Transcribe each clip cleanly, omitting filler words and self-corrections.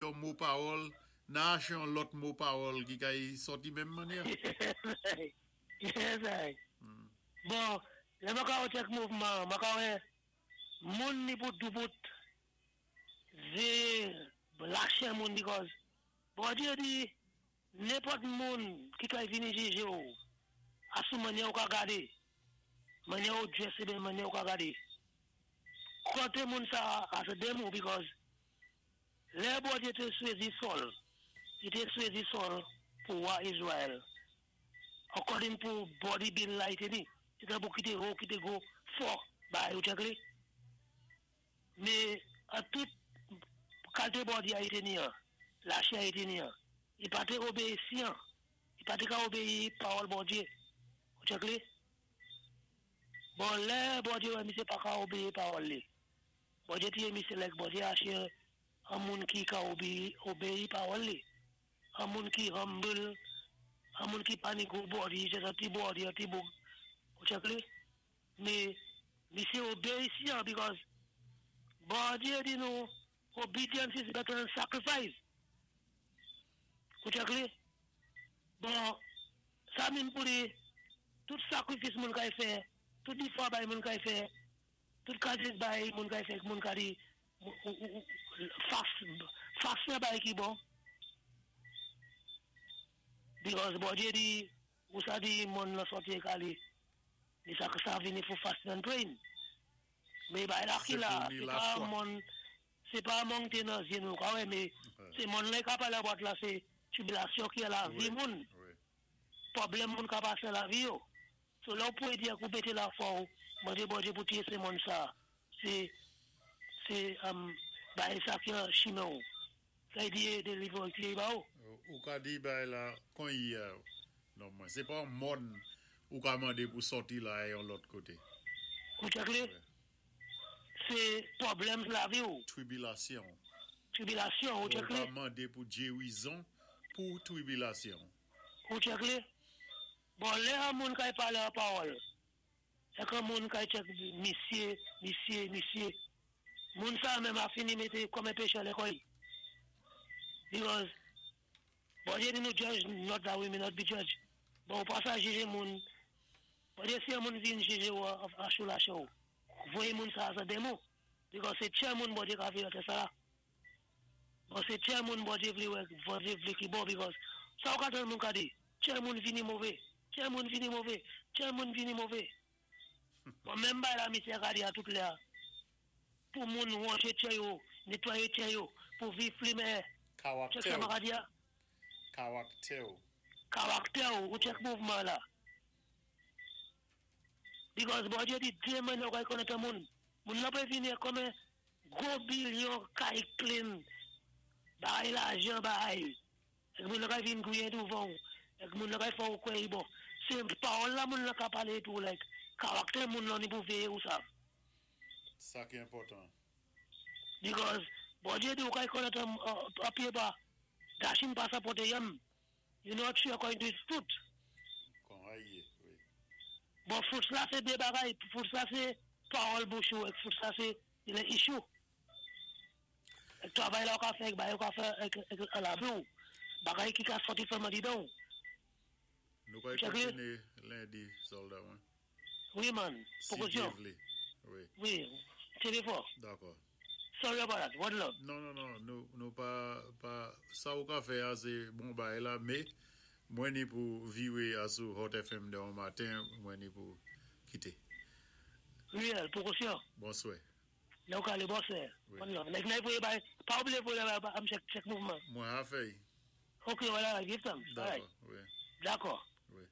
yon mo pawòl, nan aché yon lòt mo pawòl ki kay sòti menm mannyè. Yes, ay. Bon, lè mwen ka wè kèk mouvman, mwen ka wè moun ni pou doubout véyé lachè moun because Bondye di nenpòt moun ki kay vini jije ou a sou mannyè ou ka gade, mannyè ou dress oubyen mannyè ou ka gade. Konte moun sa as a demon because lè Bondye te swezi Saul, li te swezi Saul pou wa Israel according pou body build la li te ni. Se tankou ki te ho, ki te gwo, fò bagay ou tchèk li. Men an tout kalte body a li te ni an, lachè a li te ni an, li pa te obeyisian, li pa te ka obeyi pawòl Bondye. Ou tchèk li? Bon lè Bondye wè misye pa ka obeyi pawòl li, Bondye tiye misye like Bondye ache an moun ki ka obeyi pawòl li, an moun ki humble, an moun ki pa ni gwo body, just an ti body, an ti boug. Ou tchèk li? Men misye obeyisian because Bondye di nou obedience is better than sacrifice. Ou tchèk li? Bon, sa mean pou di tout sakrifis moun kay fè, tout difwa bay moun kay fè, tout kalite bay moun kay fè, moun ka di fas fas nan bay ki bon. Because Bondye di ou sa di mòn lan sòti e kale, li sa sa vini pou fasting and praying. Men bay la ki Se la, pou ni se pa lafwa. mòn se pa monte nan zye nou ka wè, men se mòn lan ka pale about la se tribilasyon ki nan lavi Wi, moun, wi. pwoblèm moun ka pase nan lavi yo. So lè ou pou di ak ou mete lafwa ou, mande Bondye pou tiye se mòn sa. Se bay sa ki an chimen ou. Sa yi di delivre ou ki ba ou. Ou ka di bay la kon yi a. Non mwen, se pa mòn ou ka mande pou sòti la e yon lòt kote. Ou tchèk li? Se pwoblèm lavi ou. Tribilasyon. Tribilasyon, ou Ou tchèk ka li? mande pou gerizon pou tribilasyon. Ou tchèk li? Bon, lè an moun kay pale an pawòl, e kan moun kay tchèk misye, misye, misye, moun sa menm a fini mete kòm en pechè lekòl. Because, Bondye di nou judge not that we may not be judged. Bon, ou pa sa jije moun, Bondye si yon moun vin jije ou a chou la chou, voye moun sa as a demon. Because se tchè moun Bondye ka vle ante sa la. Bon, se tchè moun Bondye vle wè, Bondye vle ki bon because sa ou ka tan moun ka di, tchè moun vini move, tchè moun vini move, tchè moun vini move. Bon, menm bay la misye ka di a tout lè a. Pou moun wanje tchè yo, netwaye tchè yo, pou viv pli meyè. Tchèk Karaktè sa ou. ma ka di a? Karaktè ou. Karaktè ou, ou tchèk mouvman la. Because Bondye di, diye men nou kay konnen moun. Moun nan pe vini kòm en gwo bilyon kay clean, bay lajan bay. Ek moun nan kay vin gouye douvan ou. Ek moun nan kay fò ou kwe bon. Se pawòl la moun nan ka pale tou like karaktè moun nan ni pou veye ou sa. Sa ki enpòtan. Because Bondye di ou kay konnen an pye ba. Dachin pa sa pote yam. You know tree according to its fruit. Kon aye, wi. Bon, fruit la se de bagay. Fruit la se pawòl bouch ou. Ek fruit la se le issue. Ek travay la ou ka fè, ek bay ou ka fè, ek lavi ou. Bagay ki ka soti fèman di dan ou. Nou kay Tchèk li? kontine lendi, solda mwen. Wi man, Si prekosyon. Dye vle. Wi, Wi, telefon. Dakò. Sorry about that. One love. Non, non, non, nou pa, sa ou ka fè a se bon bay la, me, mwen ni pou viwe a sou Hot FM de an maten, mwen ni pou kite. Real, prekosyon. Bonswè. Lè ou ka ale bonswè. Wi. One love. Like, nay voye bay, pa oubliye voye bay, am check, check mouvman. Mwen a fèy. Ok, wala, give thanks. All right. Dakò, wi. Dakò. Wi.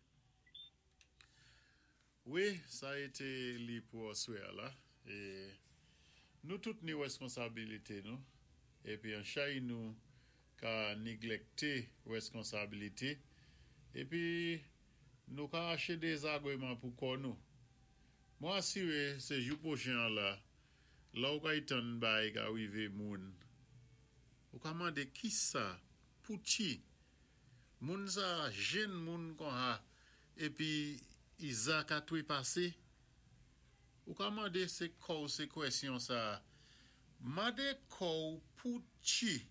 Wi, sa a été li pou aswè la. E nou tout ni responsabilité nou. Epi an chay nou ka neglekte responsabilité. Epi nou ka ache dezagreman pou kò nou. Mwen asire se jou pwochen an la, la ou ka itan bay ka rive moun. Ou ka mande ki sa, pou ti. Moun sa jen moun kon ha, epi iza ka twe pase. Ou ka mande se kou se kwesyon sa. Mande kou pou ti.